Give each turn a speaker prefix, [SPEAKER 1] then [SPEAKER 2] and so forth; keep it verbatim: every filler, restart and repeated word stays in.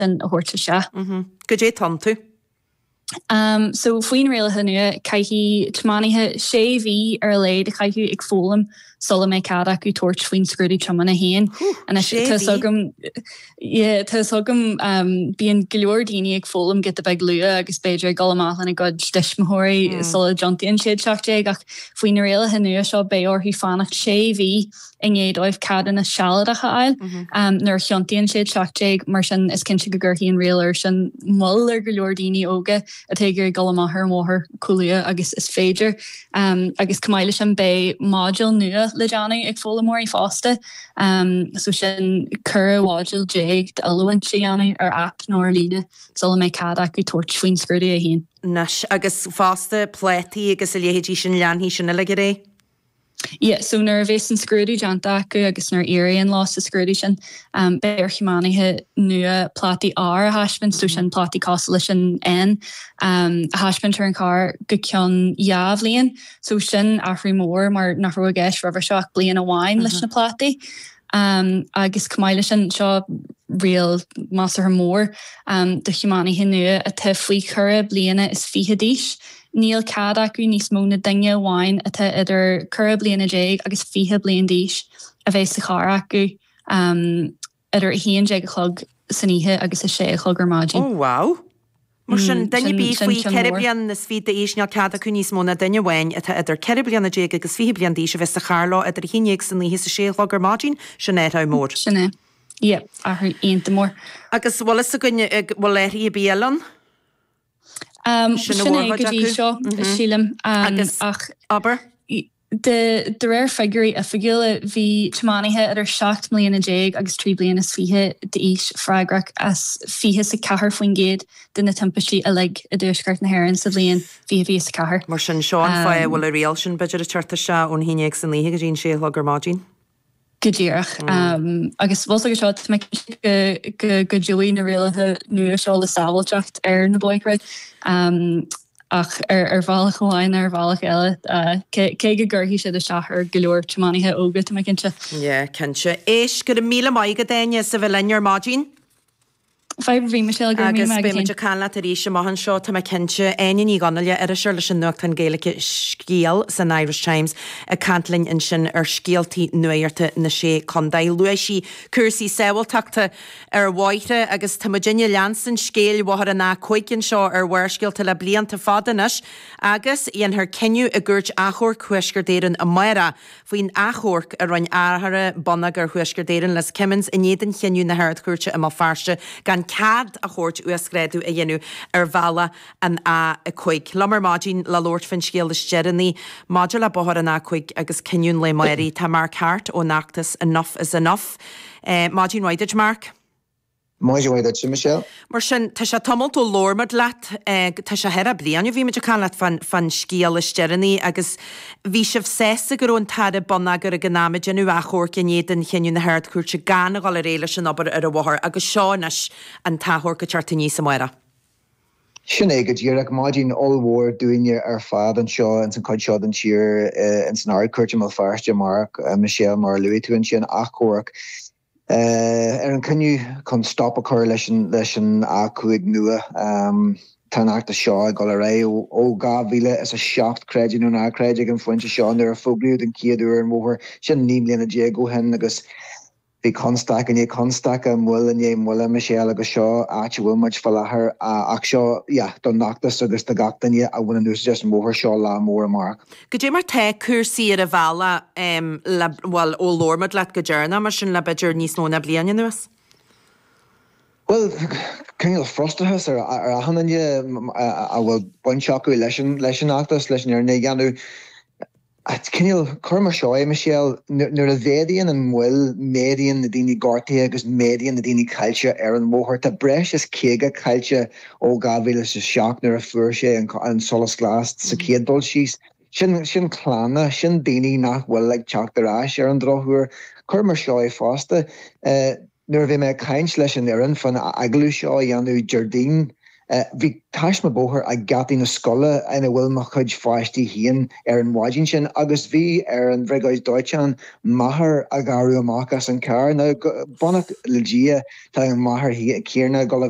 [SPEAKER 1] sin a thabhairt isteach.
[SPEAKER 2] Goidé atá iontu?
[SPEAKER 1] Um, so faoin rialacha nua caithfidh tiománaithe sé mhí ar a laghad a chaitheamh ag foghlaim sula mbeidh cead acu tabhairt faoin scrúdú tiomána féin. Tá agam tá agam um, bíonn go leor daoine ag foghlaim giota beag luath agus b'fhéidir dul amach lena gcuid tuismitheoirí mm. sula dtiontaíonn siad seacht déag ach faoin rialacha nua seo beidh orthu fanacht sé mhí i ndiaidh dóibh ceadúnas sealadach a fháil mm -hmm. um, nuair a thiontaíonn siad seacht déag mar sin is cinnte go gcuirfidh an riail sin moill ar go leor daoine óga atá ag iarraidh dul amach ar an bhóthar chomh luath agus is féidir um, agus chomh maith leis sin beidh modúl nua le déanamh ag foghlaimeoirí fosta um, so sin ceithre mhodúl déag d'oiliúint a dhéanamh ar app nó ar líne sula mbeidh cead acu tabhairt faoin scrúdú é féin.
[SPEAKER 2] Anois agus fosta plátaí agus a leithéidí sin leanfaidh sin uilig ar aghaidh?
[SPEAKER 1] Yeah, so nuair a bheas an scrúdú déanta acu agus nuair a éiríonn leo sa scrúdú sin um, beidh ar thiománaithe nua plátaí R a thaispeáint so sin plátaí cosúil leis an N um, a thaispeáint ar an car go ceann dhá bhliain, so sin athrú mór mar nach raibh i gceist roimhe seo ach bliain amháin leis na plátaí. Um, agus chomh maith leis sin seo riail measartha mór um, do thiománaithe nua atá faoi cheithre bliana is fiche d'aois. Níl cead acu níos mó ná duine amháin atá idir ceithre bliana déag agus fiche bliain d'aois a bheith sa charr acu um, idir a haon déag a chlog san oíche agus a sé a chlog ar maidin.
[SPEAKER 2] Oh wow! Mar sin duine
[SPEAKER 1] Mm,
[SPEAKER 2] bí
[SPEAKER 1] sin
[SPEAKER 2] faoi
[SPEAKER 1] ceann
[SPEAKER 2] ceithre
[SPEAKER 1] mór.
[SPEAKER 2] bliana is fiche d'aois níl cead acu níos mó ná duine amháin atá idir ceithre bliana déag agus fiche bliain d'aois a bheith sa charr leo idir a haon déag san oíche is a sé a chlog ar maidin sin athrú mór.
[SPEAKER 1] Sin é. Yeah, athrú iontach mór.
[SPEAKER 2] Agus bhfuil fhios againn bhfuil athruithe ar bith eile ann?
[SPEAKER 1] Um,
[SPEAKER 2] Sin a
[SPEAKER 1] sin é
[SPEAKER 2] mhórchuid
[SPEAKER 1] go dtí
[SPEAKER 2] acu.
[SPEAKER 1] seo sílim um,
[SPEAKER 2] Agus
[SPEAKER 1] ach
[SPEAKER 2] abair?
[SPEAKER 1] De, de réir figiúirí oifigiúla bhí tiománaithe idir seacht mbliana déag agus trí bliana is fiche d'aois freagrach as fiche is a ceathair faoin gcéad de na timpistí uilig i dTuaisceart na hÉireann sa bhliain fiche fiche a ceathair.
[SPEAKER 2] Mar sin seo an fáth
[SPEAKER 1] Um,
[SPEAKER 2] bhfuil an riail sin b'fhéidir ag teacht isteach ón haon déag san oíche go dtí an sé a chlog ar maidin.
[SPEAKER 1] Go díreach um, agus bhfuil go seo go go go dtiocfaidh na rialacha nua seo le sábháilteacht ar na bóithre um, ach ar ar bhealach amháin ar bhealach eile uh, cé cé go gcuirfidh siad isteach ar go leor tiománaithe óga tá mé cinnte.
[SPEAKER 2] Yeah, cinnte. Éist go raibh míle maith agat Áine as a bheith linn ar maidin.
[SPEAKER 1] Fadhb bhí Michelle go
[SPEAKER 2] Agus beimid ag caint leat arís amach anseo tá mé cinnte Áine Ní Dhonnaile iriseoir leis an nuachtán Gaeilge Scéal san Irish Times ag caint linn ansin ar scéaltaí nuachta na sé chontae. Luaigh sí cúrsaí sábháilteachta ar bhóithre agus tá muidinne ag leanstan scéal Bhóthar an A cúig anseo ar Bharrscéalta le blianta fada anois agus dhéanfar cinneadh i gCúirt Achomhairc Thuaisceart Éireann amárach faoin achomharc a rinne Aire Bonneagair Thuaisceart Éireann Liz Kimmins in éadan chinneadh na hArd-Chúirte i mBéal Feirste gan cead a thabhairt uasghrádú a dhéanamh ar bhealach an A a cúig. Liom ar maidin le labhairt faoin scéal is deireanaí maidir le Bóthar an A cúig agus cinneadh an lae amárach tá Mark Hart ón fheachtas Enough is Enough. Eh, Maidin mhaith duit Mark.
[SPEAKER 3] Maidin mhaith duit Michelle.
[SPEAKER 2] Mar sin tá sé tamall ó labhair muid leat eh, tá sé thar bliain ó bhí muid ag caint leat fan fan scéal is deireanaí agus bhí sibh sásta go raibh an tAire Bonneagair ag an am ag déanamh achomhairc in éadan chinneadh na hArd-Chúirte gan a dhul ar aghaidh leis an obair ar an bhóthar agus seo anois an t-achomharc ag teacht aníos amárach.
[SPEAKER 3] Sin é go díreach maidin ollmhór dúinne ar fad anseo in san chuid seo den tír in san Ard-Chúirt i mBéal Feirste amárach Michelle mar luaigh tú ansin achomharc. Uh, ar an cinneadh chun stop a chur leis an leis an A cúig nua um, Tá an feachtas seo ag dul ar aghaidh ó dhá mhíle is a seacht creid é nó ná creid ag an phointe seo nuair a fógraíodh an chéad uair an bóthar sin naoi mbliana déag ó shin agus bhí constaic i ndiaidh constaice moill i ndiaidh moille Michelle agus seo áit a bhfuil muid faoi láthair ach seo yeah, don fheachtas agus do gach duine a bhaineann úsáid as an mbóthar seo lá mór amárach.
[SPEAKER 2] Goidé mar tá cúrsaí ar an bhealach um, le bhfuil ó labhair muid leat go deireanach mar sin le b'fhéidir níos mó ná bliain anuas?
[SPEAKER 3] Well, cineál frustrachas ar ar achan duine a bhfuil baint acu leis an leis an fheachtas leis an fhírinne a dhéanamh. Cineál cur mar seo é Michelle nuair a mhéadaíonn an mhoill méadaíonn na daoine gortaithe agus méadaíonn na daoine caillte ar an mbóthar. Tá breis is caoga caillte ó dhá mhíle is a seacht nuair a fuair sé an, an solas glas sa chéad dul síos. Sin sin clanna, sin daoine nach bhfuil ag teacht ar ais ar an drochuair. Cur mar seo é fosta. Uh, nuair a bhí mé ag caint leis an fhoireann fan agallamh seo a dhéanamh Déardaoin Bhí taisme bóthair ag geataí na scoile ina bhfuil mo chuid pháistí féin ar an mhaidin sin agus bhí ar an bhriogáid dóiteáin máthair a ghearradh amach as an carr. Now, beannacht le Dia, tá an mháthair chéanna ag dul a bheith